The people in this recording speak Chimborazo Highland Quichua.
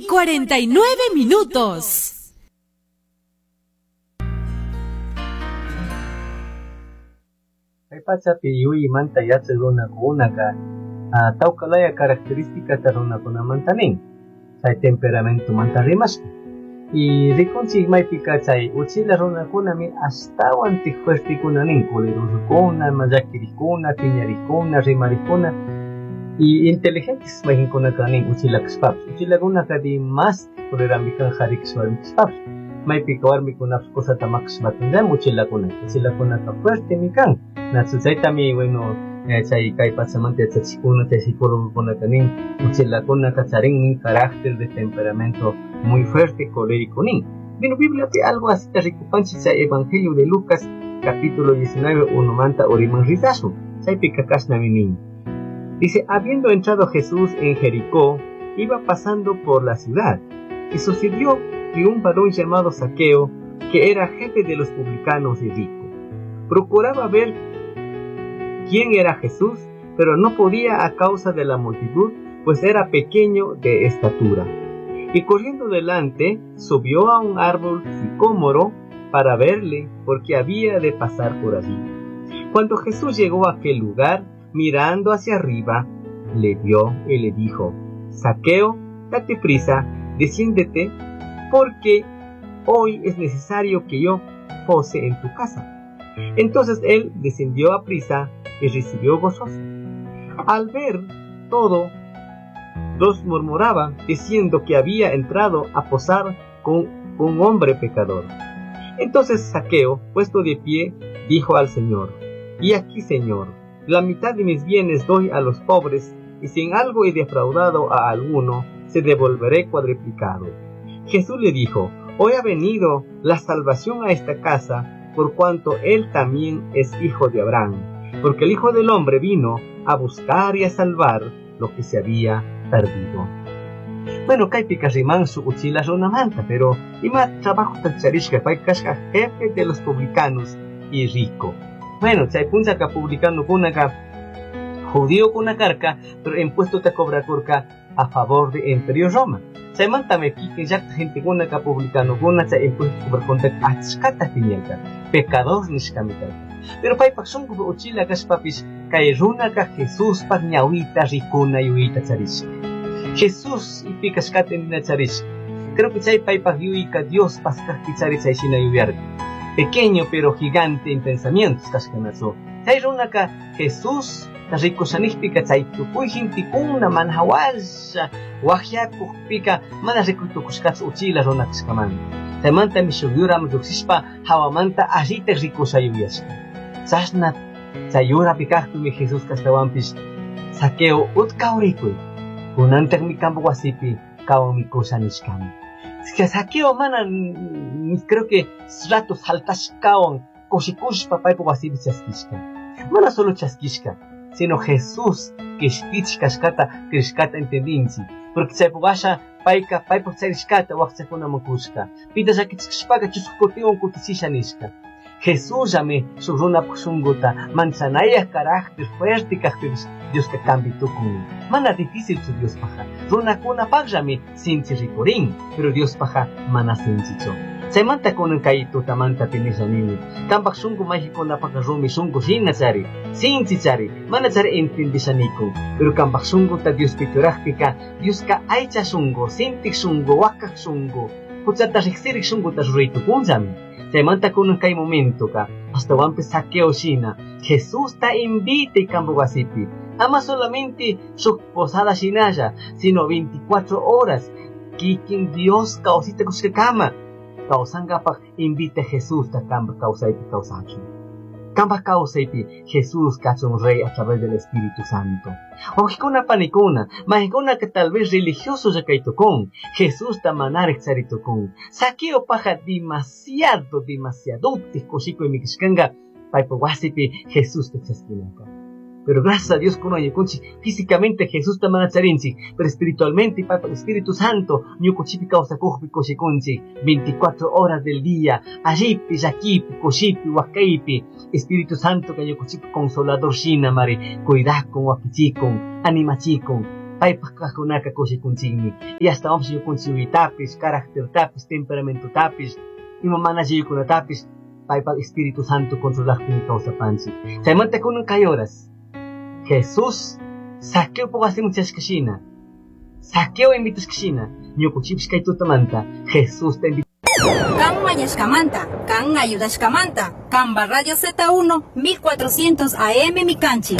y 49 minutos. Kay pachapi yuyaymanta yachaq runakunaka tawka laya característicata runakunamanta nin, chay temperamentomanta rimashka. Y rikunchik maypika chay uchila runakunami ashtawantik fuertekuna nin, colerosokuna, llakirikuna, piñarikuna, rimarikuna y inteligentes mayqinkunaka nin uchila kashpapish. Uchilakunaka dimas colerami kan qhari kashpa warmi kashpapish. Maypika warmikunapish cosata maqashpakunllami uchilakunaka. Uchilakunaka fuertemi kan. Nachu chaytami, bueno, chay kay pachamanta yachachikuna, chay psicólogokunaka nin, uchilakunaka charin nin carácter de temperamento muy fuerte, colérico nin. Bueno, Bibliapi algo así te rikupanchik chay Evangelio de Lucas, capítulo 19, unomanta uriman rizasun. Chaypika kashnami nin. Dice, habiendo entrado Jesús en Jericó, iba pasando por la ciudad, y sucedió que un varón llamado Zaqueo, que era jefe de los publicanos y rico, procuraba ver quién era Jesús, pero no podía a causa de la multitud, pues era pequeño de estatura. Y corriendo delante, subió a un árbol sicómoro para verle, porque había de pasar por allí. Cuando Jesús llegó a aquel lugar, mirando hacia arriba, le vio y le dijo: Zaqueo, date prisa, desciéndete, porque hoy es necesario que yo pose en tu casa. Entonces él descendió a prisa y recibió gozoso. Al ver todo, los murmuraban, diciendo que había entrado a posar con un hombre pecador. Entonces Zaqueo, puesto de pie, dijo al Señor: Y aquí, Señor, la mitad de mis bienes doy a los pobres, y si en algo he defraudado a alguno, se devolveré cuadriplicado. Jesús le dijo: Hoy ha venido la salvación a esta casa, por cuanto él también es hijo de Abraham, porque el Hijo del Hombre vino a buscar y a salvar lo que se había perdido. Bueno, kaypika riman su uchila runamanta, pero ima trabajo tacharishka, pay kashka jefe de los publicanos y rico. Bueno, chay punchaka publicano kunaka judío kunakarka, pero impuesto te cobra kurka a favor de Imperio Roma. Chaymanta me kikin llaqta gente kunaka publicano kuna chay impuesto cobra contra achkata piñarka, pecador nishkami karka. Pero paypak shunkupi uchila kashpapish kay runaka Jesuspaq ñawita rikuna yuyayta charishka. Jesús ipi kashkata nina charishka. Creo que chay paypak yuyayka Dios paskaqpi chari chay shina yuyarka. Pequeño pero gigante en pensamientos kashkanachu. Chay runaka Jesús rikushanijpika chay tukuy gentekuna mana hawalla waqyakujpika mana rikuytukushkachu uchila runa kashkamanta. Chaymantami shuk yuraman lluqshishpa hawamanta allita rikusha yuyashka. Chashna chay yurapi kaqpimi Jesús kashtawanpish Zaqueo utka urikuy, kunantaqmi kampa wasipi kawan mikusha nishkami. Zaqueo mana, creo que rato saltashkawan kushikushpa paypa wasipi chaskishka. Mana solo chaskishka, sino Jesús kishpich kashkata krishkata entendinchi, porque chaypa washa payka paypaq charishkata waqchakunaman kushka, pita llakichishpaka chusku kutiwan kutichisha nishka. Jesús llame shuk runapaq shunquta manchanayaq carácter fuerte kaqpipish Dioska cambi tukun. Mana difícil chu Diospaqqa, runakunapaqllami sinchi rikurin, pero Diospaqqa mana sinchichu. Chaymanta kunan kay tutamanta pinisha nini, kanpaq shunqu mayqinkunapaqqa rumi shunqu hina chari, sinchi chari, mana chari entendishanikun, pero kanpaq shunquta Diospi churaqpika, Dioska aycha shunqu, sintiq shunqu, wakaq shunqu, huchata riqsiriq shunquta ruraytukunllami. Chaymanta kunan kay momentoka, astawanpis Zaqueo shina, Jesús ta invita kampa wasipi, ama solamente shuk posada shinalla, sino 24 horas, kikin Dios kawsita kushkakama, kawsankapaq invita Jesús ta kampa kawsaypi kawsachun. Kampa kawsaypi Jesús kachun rey a través del Espíritu Santo. Wawqikuna panikuna, mayqikuna que tal vez religioso ya kaytukun, Jesús ta manaraq charitukun. Zaqueo paja demasiado, demasiado kushikuy mikishkanqa paypa wasipi Jesús ta chaskinaka. Pero gracias a Dios kunan ñukunchik físicamente Jesús ta mana charinchik, pero espiritualmente paypa Espíritu Santo ñukunchikpi kawsakuqpi kushikunchik 24 horas del día, allipi, llakipi, kushipi, wakaypi, Espíritu Santo ka ñukunchikpi consolador shina mari, cuidakun, wakichikun, animachikun. Paypaj kajkunaka kushikunchikmi. Y astawanpish ñukanchik yuyaytapis, caractertapis, temperamentotapis, ima mana allikunatapis paypaj Espíritu Santo controlakpimi kawsapanchik. Chaymanta kunan kay horas Jesús Zaqueopaj wasiman chashkashina, Zaqueo invitashkashina, ñukanchikpish kay tutamanta Jesusta invitashka. Kan mañashkamanta, kan ayudashkamanta, Kanpa Radio Z1 1400 AM Mikanchik.